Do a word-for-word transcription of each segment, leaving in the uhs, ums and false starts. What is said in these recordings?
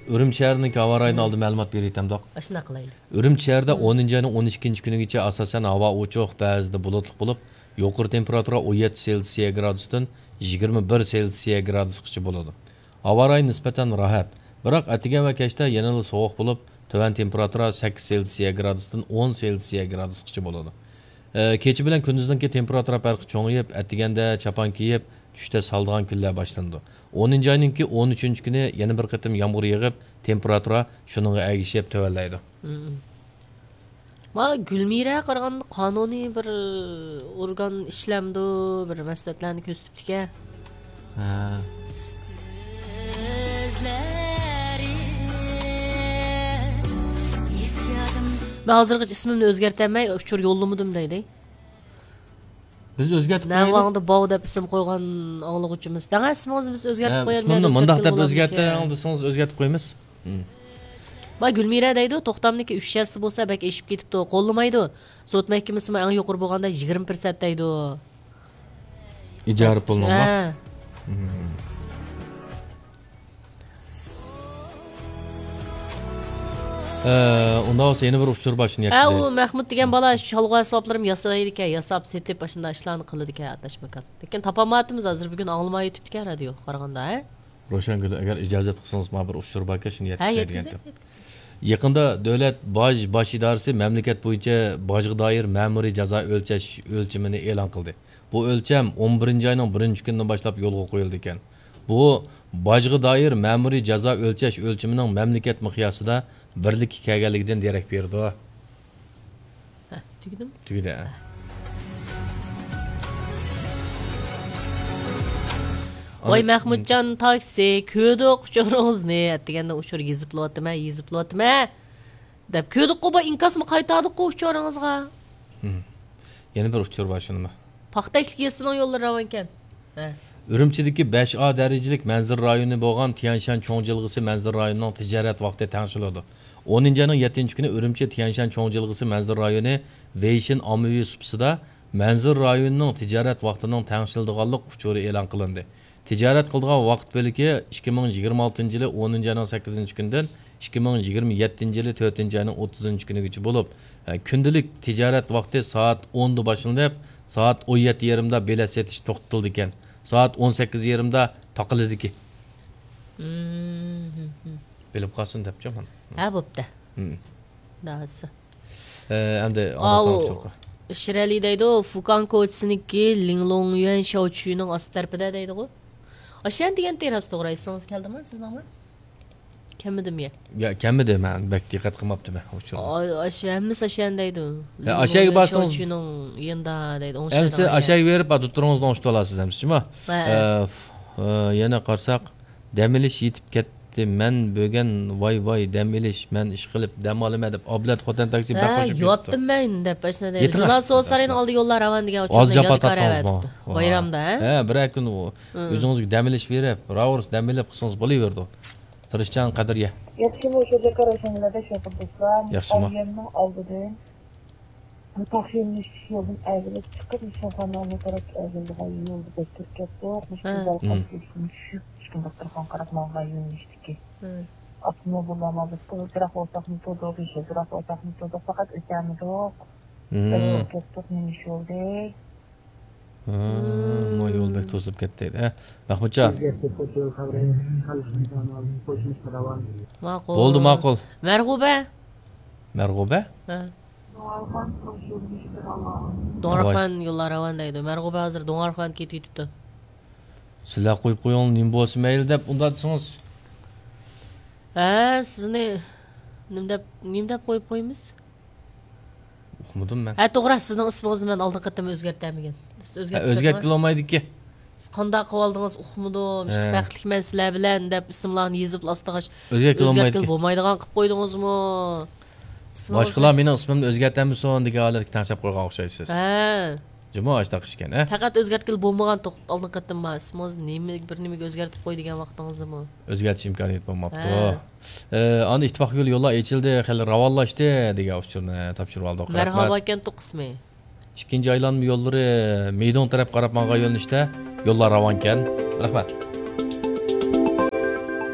ئۈرۈمچى شەھىرىنىڭكى ھاۋا رايىنى ئالدى مەلۇمات بېرىۋېتەمدۇق؟ ئاشۇنداق قىلايلى. ئۈرۈمچى شەھىرىدە ئونىنچى ئاينىڭ ئون ئىككىنچى كۈنىگىچە ئاساسەن ھاۋا ئوچۇق، بەزىدە بۇلۇتلۇق بولۇپ، يۇقىرى تېمپېراتۇرا ئون يەتتە سېلسىيە گرادۇستىن يىگىرمە بىر سېلسىيە گرادۇسقىچە بولىدۇ. ھاۋا رايى نىسبەتەن راھەت، بىراق ئەتىگەن ۋە كەچتە يەنىلا سوغۇق بولۇپ، تۆۋەن تېمپېراتۇرا سەككىز سېلسىيە گرادۇستىن ئون سېلسىيە گرادۇسقىچە بولىدۇ. ئە، كېچە بىلەن كۈندۈزنىڭكى تېمپېراتۇرا پەرقى چوڭىيىپ، ئەتىگەندە چاپان كىيىپ، چۈشتە سالىدىغان كۈنلەر باشلىنىدۇ. ئونىنچى ئاينىڭكى ئون ئۈچىنچى كۈنى يەنە بىر قېتىم يامغۇر يېغىپ، تېمپېراتۇرا شۇنىڭغا ئەگىشىپ تۆۋەنلەيدۇ. مم. ما گۈلمىرە قارىغاندا قانۇنىي بىر ئورگان ئىشلەمدۇ، بىر مەسلىھەتلەرنى كۆرسىتىپتىكەن. ھە. مەن ھازىرغىچە ئىسمىمنى ئۆزگەرتەلمەي ئۇچۇر يوللىمىدىم دەيدۇ. بىز ئۆزگەرتىپ قويايلى. نەۋاڭدا باۋ دەپ ئىسىم قويغان ئاڭلىغۇچىمىز. دەڭە ئىسمىڭىزنى بىز ئۆزگەرتىپ قويايلى، مۇشۇنى مۇنداق دەپ ئۆزگەرتىڭ دېسىڭىز ئۆزگەرتىپ قويىمىز. مم. ما گۈلمىرە دەيدۇ، توختامنىڭكى ئۈچ يەسسى بولسا بەك ئېشىپ كېتىپتۇ، قوللىمايدۇ. سوت مەھكىمىسىمۇ ئەڭ يۇقىرى بولغاندا يىگىرمە پىرسەنت دەيدۇ. ئىجارە پۇلنىڭمۇ؟ ھە. مم. ئە، ئۇنداق بولسا يەنە بىر ئۇچۇر بار، شۇنى ھە، يەتكۈزەي. ئۇ مەھمۇت دېگەن بالا شۇ شالغۇ ئەسۋابلىرىمۇ ياسايدىكەن، ياساپ سېتىپ ئاشۇنداق ئىشلارنى قىلىدىكەن ئاتاش ماكان. لېكىن تاپالمايۋاتىمىز ھازىر، بۈگۈن ئاڭلىمايۋېتىپتىكەن رادىيوغا قارىغاندا، ھە؟ روشەنگۈل، ئەگەر ئىجازەت قىلسىڭىز، ماڭا بىر ئۇچۇر باركەن، شۇنى ھە، يەتكۈزەي دېگەنتىم. يەتكۈزەي، يەتكۈزەي. يېقىندا دۆلەت باج باش ئىدارىسى مەملىكەت بويىچە باجغا دائىر مەمۇرىي جازا ئۆلچەش ئۆلچىمىنى ئېلان قىلدى. بۇ ئۆلچەم ئون بىرىنچى ئاينىڭ بىرىنچى كۈنىدىن باشلاپ يولغا قويۇلىدىكەن. بۇ باجغا دائىر مەمۇرىي جازا ئۆلچەش ئۆلچىمىنىڭ مەملىكەت مىقياسىدا بىرلىككە كەلگەنلىكىدىن دېرەك بېرىدۇ. ھە، تۈگىدىمۇ؟ تۈگىدى، ھە. ۋاي، مەھمۇتجان تاكسى، كۆردۇق ئۇچۇرىڭىزنى. ئەتىگەندە ئۇچۇر يېزىپلىۋاتىمەن، يېزىپلىۋاتىمەن دەپ كۆردۇققۇ، بۇ ئىنكاسمۇ قايتاردۇققۇ ئۇچۇرىڭىزغا. ھىم. يەنە بىر ئۇچۇر بار، شۇنىمۇ؟ پاختەكلىك يېزىسىنىڭ يوللىرى راۋانكەن. ھە. ئۈرۈمچىدىكى بەش ئا دەرىجىلىك مەنزىرە رايونى بولغان تيەنشان چوڭ جىلغىسى مەنزىرە رايونىنىڭ تىجارەت ۋاقتى تەڭشىلىدۇ. ئونىنچى ئاينىڭ يەتتىنچى كۈنى ئۈرۈمچى تيەنشان چوڭ جىلغىسى مەنزىرە رايونى ۋېيشىن ئاممىۋى سۇپىسىدا مەنزىرە رايونىنىڭ تىجارەت ۋاقتىنىڭ تەڭشىلىدىغانلىق ئۇچۇرى ئېلان قىلىندى. تىجارەت قىلىدىغان ۋاقىت بۆلىكى ئىككى مىڭ يىگىرمە ئالتىنچى يىلى ئونىنچى ئاينىڭ سەككىزىنچى كۈنىدىن ئىككى مىڭ يىگىرمە يەتتىنچى يىلى تۆتىنچى ئاينىڭ ئوتتۇزىنچى كۈنىگىچە بولۇپ، ھە، كۈندىلىك تىجارەت ۋاقتى سائەت ئوندا باشلىنىپ، سائەت ئون يەتتە يېرىمدا بېلەت سېتىش توختىتىلىدىكەن. سائەت ئون سەككىز يېرىمدا تاقىلىدىكى. مم. بىلىپ قالسۇن دەپچۇ مانا. ھە، بوپتۇ. مم. داھىسى. ئە، ئەمدى ئاۋۇ ئاڭلاتساڭ چوقۇم. شىرئەلى دەيدۇ، فۇكان كوچىسىنىڭكى لىڭلوڭيۈەن شاۋچۈينىڭ ئاستى تەرىپىدە دەيدىغۇ. ئاشۇ يەردە دېگەن تېرراسا توغرا ئېسىڭىزگە كەلدىمۇ سىزنىڭمۇ؟ كەلمىدىمۇ يا؟ يا، كەلمىدى، مەن بەك دىققەت قىلماپتىمەن ئۇچۇرغا. ئا-، ئاشۇ ھەممىسى ئاشۇ يەردە دەيدۇ. يا، ئاشۇ يەرگە لىڭلوڭيۈەن بارسىڭىز شاۋچۈينىڭ يېنىدا دەيدۇ، ئوڭ شايدا. ئەمسە ئاشۇ يەرگە بېرىپ، ئا، دوختۇرىڭىزنى ئوڭشىتىۋالارسىز ئەمسە جۇما. ھە. ئە، ف-، ئە، يەنە قارىساق، دەم ئېلىش يېتىپ كەتتى. مەن بۈگۈن ۋاي ۋاي دەم ئېلىش، مەن ئىش قىلىپ دەم ئالىمەن دەپ ئابلەت خوتەن تاكسى بەك ھە، خوش يەتتىم مەن دەپ ئاشۇنداق دەيدۇ. يېتىڭە. جۇلان سودا سارىيىنىڭ ئالدى يوللار راۋان دېگەن ئۇچۇردا يېتىڭە. ئازجاپا تارتتىڭىزمۇ؟ بايرامدا، ھە؟ ھە، بىرەر كۈن ئۆزىڭىزگە دەم ئېلىش بېرىپ، راۋۇرۇس دەم ئېلىپ قىلسىڭىز بولۇۋېرىدۇ. تىرىشچان قەدرىيە. ياخشىمۇ، شۇ جاكار ئۆشەڭلەردە شوپۇر دوستلار. ياخشىمۇ؟ ئاۋۇ يەرنىڭ ئالدىدىن. بۇ تاخشىنىش يولدىن ئەگىلىپ چىقىپ، نىشانخانا ئالدى تەرەپكە ئەگىلىدىغان يولدا بەك كىرىپ كەتتۇق. مۇشۇ ھە. گۈزەل مم. قاپتىن چۈشۈپ، چۈشكۈن دوختۇرخانا قاراپ ماڭغان يۆنىلىشتىكى. ھە. ئاپتوموبىللار مازېتتۇ، يىراق بولساقمۇ تۇردۇق، يېشىل يىراق بولساقمۇ تۇردۇق، پەقەت ئۆتەلمىدۇق. مم. بەك كىرىپ كەتتۇق، نېمە ئىش بولدى؟ ھە، ما يول بەك توسۇلۇپ كەتتى. ھە، مەھمۇتجان. ماقۇل. بولدى، ماقۇل. مەرغۇبە. مەرغۇبە؟ ھە. دوڭارخان يوللار راۋان دەيدۇ. مەرغۇبە ھازىر دوڭارخان كېتىۋېتىپتۇ. سىلەر قويۇپ قويۇڭ، نېمە بولسا مەيلى دەپ ئۇنداق دېسىڭىز. ھە، سىزنى نېمە دەپ، نېمە دەپ قويۇپ قويىمىز؟ ئۇقمىدىم مەن. ھە، توغرا، سىزنىڭ ئىسمىڭىزنى مەن ئالدىن قېتىم ئۆزگەرتەلمىگەن. سىز ھە، ئۆزگەرتىپ ئۆزگەرتكىلى بولمايدىكى. سىز قانداق قىلىۋالدىڭىز، ئۇقمىدىم. ھە. بەختلىكمەن سىلەر بىلەن دەپ ئىسىملارنى يېزىپ ئاستىغا ئۆزگەرتكىلى بولمايدىكى. بولمايدىغان قىلىپ قويدىڭىزمۇ؟ ئىسمىڭىزنى باشقىلار مېنىڭ ئىسمىمنى ئۆزگەرتەمسۇن دېگەن ھالەتكە تەڭشەپ قويغان ئوخشايسىز. ھە. جۇمۇ ئاشتاق ئىشكەن، ھە؟ پەقەت ئۆزگەرتكىلى بولمىغان توق-، ئالدىنقى قېتىم ما ئىسمىڭىز نېمە، بىر نېمىگە ئۆزگەرتىپ قوي دېگەن ۋاقتىڭىزدىمۇ؟ ئۆزگەرتىش ئىمكانىيىتى بولماپتۇ. ھە. ئە، ئەنە ئىتتىپاق يولى يوللار ئېچىلدى، خېلى راۋانلاشتى دېگەن ئۇچۇرنى تاپشۇرۇۋالدۇق. مەرھابا رەھمەت. ئىكەن توق قىسمى. ئىككىنچى ئايلانما يوللىرى مىدۇڭ تەرەپ قاراپ ماڭغان يۆنىلىشتە يوللار راۋانكەن. رەھمەت.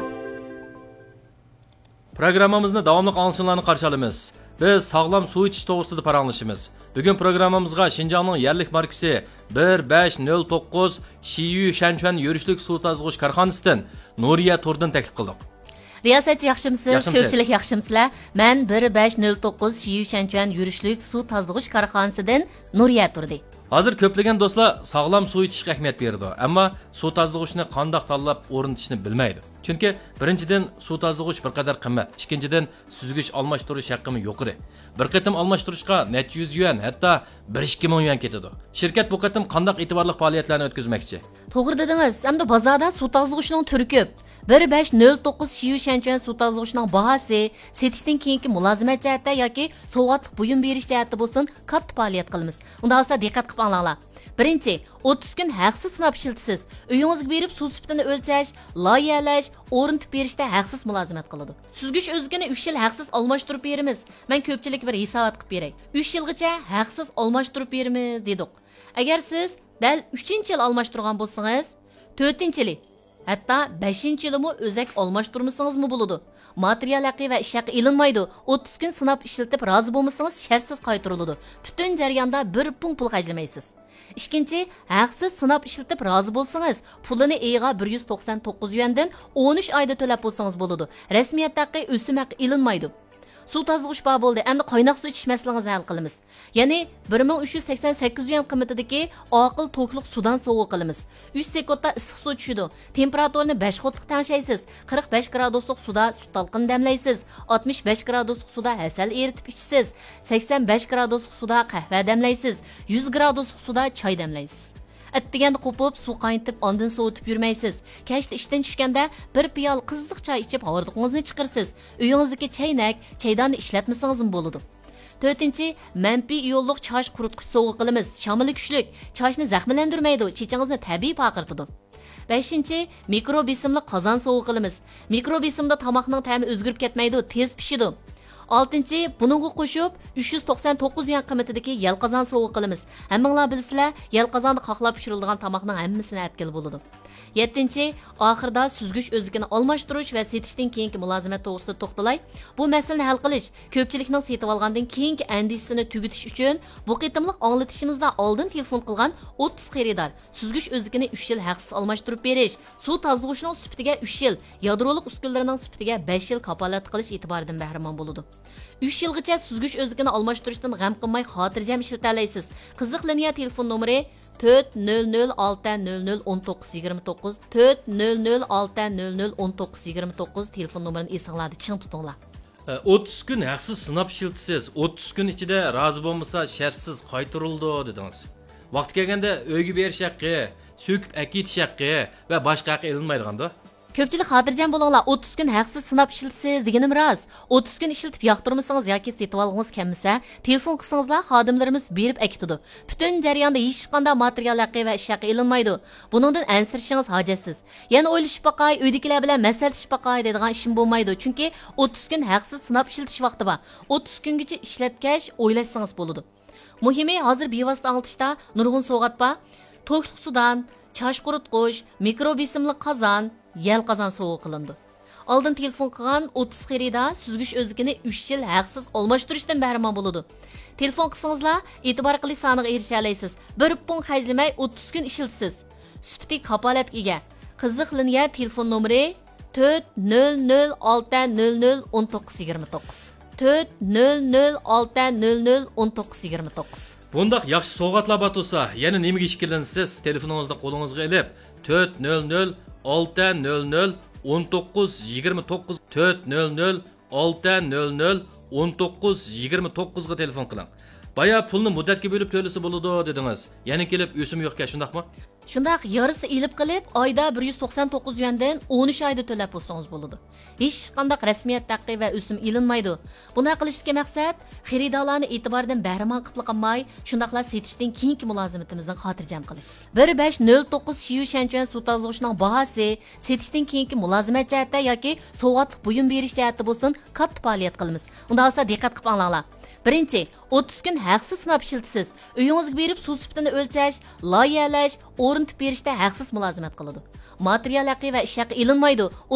پروگراممىمىزنى داۋاملىق ئاڭلىشىڭلارنى قارشى ئالىمىز. بىز ساغلام سۇ ئىچىش توغرىسىدا پاراڭلىشىمىز. بۈگۈن پروگراممىمىزغا شىنجاڭنىڭ يەرلىك ماركىسى بىر بەش نۆل توققۇز شىيۈ شەنچۈەن يۈرۈشلۈك سۇ تازىلىغۇچ كارخانىسىدىن نۇرىيە تۇردىن تەكلىپ قىلدۇق. رىياسەتچى ياخشىمۇسىز؟ ياخشىمۇسىز؟ كۆپچىلىك ياخشىمۇسىلەر؟ مەن بىر بەش نۆل توققۇز شىيۈ شەنچۈەن يۈرۈشلۈك سۇ تازىلىغۇچ كارخانىسىدىن نۇرىيە تۇردى. ھازىر كۆپلىگەن دوستلار ساغلام سۇ ئىچىشكە ئەھمىيەت بېرىدۇ، ئەمما سۇ تازىلىغۇچنى قانداق تاللاپ ئورنىتىشنى بىلمەيدۇ. چۈنكى بىرىنچىدىن، سۇ تازىلىغۇچ بىر قەدەر قىممەت، ئىككىنچىدىن، سۈزگۈچ ئالماشتۇرۇش ھەققىمۇ يۇقىرى. بىر قېتىم ئالماشتۇرۇشقا نەچچە يۈز يۈەن، ھەتتا بىر ئىككى مىڭ يۈەن كېتىدۇ. شىركەت بۇ قېتىم قانداق ئېتىبارلىق پائالىيەتلەرنى ئۆتكۈزمەكچى؟ توغرا دېدىڭىز، ئەمدى بازاردا سۇ تازىلىغۇچنىڭ تۈرى كۆپ. بىر بەش نۆل توققۇز شىيۈ شەنچۈەن سۇ تازىلىغۇچنىڭ باھاسى سېتىشتىن كېيىنكى مۇلازىمەت جەھەتتە ياكى سوۋغاتلىق بۇيۇم بېرىش جەھەتتە بولسۇن، كاتتا پائالىيەت قىلىمىز. ئۇنداق بولسا دىققەت قىلىپ ئاڭلاڭلار. بىرىنچى، ئوتتۇز كۈن ھەقسىز سىناپ ئىشلىتىسىز. ئۆيىڭىزگە بېرىپ سۇ سۈپىتىنى ئۆلچەش، لايىھەلەش، ئورنىتىپ بېرىشتە ھەقسىز مۇلازىمەت قىلىدۇ. سۈزگۈچ ئۆزىكىنى ئۈچ يىل ھەقسىز ئالماشتۇرۇپ بېرىمىز. مەن كۆپچىلىككە بىر ھېسابات قىلىپ بېرەي. ئۈچ يىلغىچە ھەقسىز ئالماشتۇرۇپ بېرىمىز دېدۇق. ئەگەر سىز دەل ئۈچىنچى يىل ئالماشتۇرغان بولسىڭىز، تۆتىنچى يىلى، ھەتتا بەشىنچى يىلىمۇ ئۆزەك ئالماشتۇرمىسىڭىزمۇ بولىدۇ. ماتېرىيال ھەققى ۋە ئىش ھەققى ئېلىنمايدۇ. ئوتتۇز كۈن سىناپ ئىشلىتىپ رازى بولمىسىڭىز، شەرتسىز قايتۇرۇلىدۇ. پۈتۈن جەرياندا بىر پۇڭ پۇل خەجلىمەيسىز. ئىككىنچى، ھەقسىز سىناپ ئىشلىتىپ رازى بولسىڭىز، پۇلىنى ئېيىغا بىر يۈز توقسان توققۇز يۈەندىن ئون ئۈچ ئايدا تۆلەپ بولسىڭىز بولىدۇ. رەسمىيەت ھەققى، ئۆسۈم ھەققى ئېلىنمايدۇ. سۇ تازىلىغۇچ بار بولدى، ئەمدى قايناق سۇ ئىچىش مەسىلىڭىزنى ھەل قىلىمىز. يەنى بىر مىڭ ئۈچ يۈز سەكسەن سەككىز يۈەن قىممىتىدىكى ئاقىل توكلۇق سۇدان سوۋغا قىلىمىز. ئۈچ سېكۇنتتا ئىسسىق سۇ چۈشىدۇ. تېمپېراتۇرىنى بەش قۇتلۇق تەڭشەيسىز. قىرىق بەش گرادۇسلۇق سۇدا سۈت تالقىنى دەملەيسىز. ئاتمىش بەش گرادۇسلۇق سۇدا ھەسەل ئېرىتىپ ئىچىسىز. سەكسەن بەش گرادۇسلۇق سۇدا قەھۋە دەملەيسىز. يۈز گرادۇسلۇق سۇدا چاي دەملەيسىز. ئەتىگەندە قوپۇپ، سۇ قاينىتىپ، ئاندىن سوۋۇتۇپ يۈرمەيسىز. كەچتە ئىشتىن چۈشكەندە بىر پىيالە قىزىق چاي ئىچىپ، ھاردۇقىڭىزنى چىقىرىسىز. ئۆيىڭىزدىكى چەينەك، چەيداننى ئىشلەتمىسىڭىزمۇ بولىدۇ. تۆتىنچى، مەنپىي ئىيونلۇق چاچ قۇرۇتقۇچ سوۋغا قىلىمىز. شامىلى كۈچلۈك، چاچنى زەخىملەندۈرمەيدۇ، چېچىڭىزنى تەبىئىي پارقىرىتىدۇ. بەشىنچى، مىكرو بېسىملىق قازان سوۋغا قىلىمىز. مىكرو بېسىمدا تاماقنىڭ تەمى ئۆزگىرىپ كەتمەيدۇ، تېز پىشىدۇ. ئالتىنچى، بۇنىڭغا قوشۇپ، ئۈچ يۈز توقسان توققۇز يۈەن قىممىتىدىكى يەل قازان سوۋغا قىلىمىز. ھەممىڭلار بىلىسىلەر، يەل قازاندا قاقلاپ پىشۇرۇلىدىغان تاماقنىڭ ھەممىسىنى ئەتكىلى بولىدۇ. يەتتىنچى، ئاخىرىدا سۈزگۈچ ئۆزىكىنى ئالماشتۇرۇش ۋە سېتىشتىن كېيىنكى مۇلازىمەت توغرىسىدا توختىلاي. بۇ مەسىلىنى ھەل قىلىش، كۆپچىلىكنىڭ سېتىۋالغاندىن كېيىنكى ئەندىشىسىنى تۈگىتىش ئۈچۈن، بۇ قېتىملىق ئاڭلىتىشىمىزدا ئالدىن تېلېفون قىلغان ئوتتۇز خېرىدار سۈزگۈچ ئۆزىكىنى ئۈچ يىل ھەقسىز ئالماشتۇرۇپ بېرىش، سۇ تازىلىغۇچنىڭ سۈپىتىگە ئۈچ يىل، يادرولۇق ئۈسكۈنىلىرىنىڭ سۈپىتىگە بەش يىل كاپالەتلىك قىلىش ئېتىبارىدىن بەھرىمەن بولىدۇ. ئۈچ يىلغىچە سۈزگۈچ ئۆزىكىنى ئالماشتۇرۇشتىن غەم قىلماي خاتىرجەم ئىشلىتەلەيسىز. قىزىق لىنىيە تېلېفون نومۇرى تۆت نۆل نۆل ئالتە نۆل نۆل ئون توققۇز يىگىرمە توققۇز، تۆت نۆل نۆل ئالتە نۆل نۆل ئون توققۇز يىگىرمە توققۇز تېلېفون نومۇرىنى ئېسىڭلاردا چىڭ تۇتۇڭلار. ئوتتۇز كۈن ھەقسىز سىناپ ئىشلىتىسىز، ئوتتۇز كۈن ئىچىدە رازى بولمىسا شەرتسىز قايتۇرۇلىدۇ دېدىڭىز. ۋاقتى كەلگەندە ئۆيگە بېرىش ھەققى، سۆكۈپ ئەكېتىش ھەققى ۋە باشقا ھەققى ئېلىنمايدىغاندۇ؟ كۆپچىلىك خاتىرجەم بولۇڭلار، ئوتتۇز كۈن ھەقسىز سىناپ ئىشلىتىسىز دېگىنىم راست. ئوتتۇز كۈن ئىشلىتىپ ياقتۇرمىسىڭىز ياكى سېتىۋالغۇڭىز كەلمىسە، تېلېفون قىلسىڭىزلا خادىملىرىمىز بېرىپ ئەكېتىدۇ. پۈتۈن جەرياندا ھېچقانداق ماتېرىيال ھەققى ۋە ئىش ھەققى ئېلىنمايدۇ. بۇنىڭدىن ئەنسىرىشىڭىز ھاجەتسىز. يەنە ئويلىشىپ باقاي، ئۆيدىكىلەر بىلەن مەسلىھەتلىشىپ باقاي دەيدىغان ئىشمۇ بولمايدۇ، چۈنكى ئوتتۇز كۈن ھەقسىز سىناپ ئىشلىتىش ۋاقتى بار. ئوتتۇز كۈنگىچە ئىشلەتكەچ ئويلاشسىڭىز بولىدۇ. مۇھىمى، ھازىر بىۋاسىتە ئاڭلىتىشتا نۇرغۇن سوۋغات بار. توكلۇق سۇدان، چاچ قۇرۇتقۇچ، مىكرو بېسىملىق قازان، يەل قازان سوۋغا قىلىنىدۇ. ئالدىن تېلېفون قىلغان ئوتتۇز خېرىدار سۈزگۈچ ئۆزىكىنى ئۈچ يىل ھەقسىز ئالماشتۇرۇشتىن بەھرىمەن بولىدۇ. تېلېفون قىلسىڭىزلا، ئېتىبار قىلىش سانىغا ئېرىشەلەيسىز. بىر پۇڭ خەجلىمەي ئوتتۇز كۈن ئىشلىتىسىز. سۈپىتى كاپالەتكە ئىگە. قىزىق لىنىيە تېلېفون نومۇرى تۆت نۆل نۆل ئالتە نۆل نۆل ئون توققۇز يىگىرمە توققۇز. تۆت نۆل نۆل ئالتە نۆل نۆل ئون توققۇز يىگىرمە توققۇز. بۇنداق ياخشى سوۋغاتلار بار تۇرسا، يەنە نېمىگە ئىككىلىنىسىز؟ تېلېفونىڭىزنى قولىڭىزغا ئېلىپ، تۆت نۆل نۆل ئالتە نۆل نۆل ئون توققۇز يىگىرمە توققۇز، تۆت نۆل نۆل ئالتە نۆل نۆل ئون توققۇز يىگىرمە توققۇزغا تېلېفون قىلىڭ. بايا پۇلنى مۇددەتكە بۆلۈپ تۆلىسە بولىدۇ دېدىڭىز. يەنە كېلىپ ئۆسۈم يوقكەن، شۇنداقمۇ؟ شۇنداق، يارىسى ئېلىپ قېلىپ، ئايدا بىر يۈز توقسان توققۇز يۈەندىن ئون ئۈچ ئايدا تۆلەپ بولسىڭىز بولىدۇ. ھېچقانداق رەسمىيەت ھەققى ۋە ئۆسۈم ئېلىنمايدۇ. بۇنداق قىلىشتىكى مەقسەت، خېرىدارلارنى ئېتىباردىن بەھرىمەن قىلىپلا قالماي، شۇنداقلا سېتىشتىن كېيىنكى مۇلازىمىتىمىزنى خاتىرجەم قىلىش. بىر بەش نۆل توققۇز شيۈشەنچۈەن سۇ تازىلىغۇچىنىڭ باھاسى، سېتىشتىن كېيىنكى مۇلازىمەت جەھەتتە ياكى سوۋغاتلىق بۇيۇم بېرىش جەھەتتە بولسۇن، كاتتا پائالىيەت قىلىمىز. ئۇنداق بولسا دىققەت قىلىپ ئاڭلاڭلار. بىرىنچى، ئوتتۇز كۈن ھەقسىز سىناپ ئىشلىتىسىز. ئۆيىڭىزگە بېرىپ سۇ سۈپىتىنى ئۆلچەش، لايىھەلەش، ئورنىتىپ بېرىشتە ھەقسىز مۇلازىمەت قىلىدۇ. ماتېرىيال ھەققى ۋە ئىش ھەققى ئېلىنمايدۇ.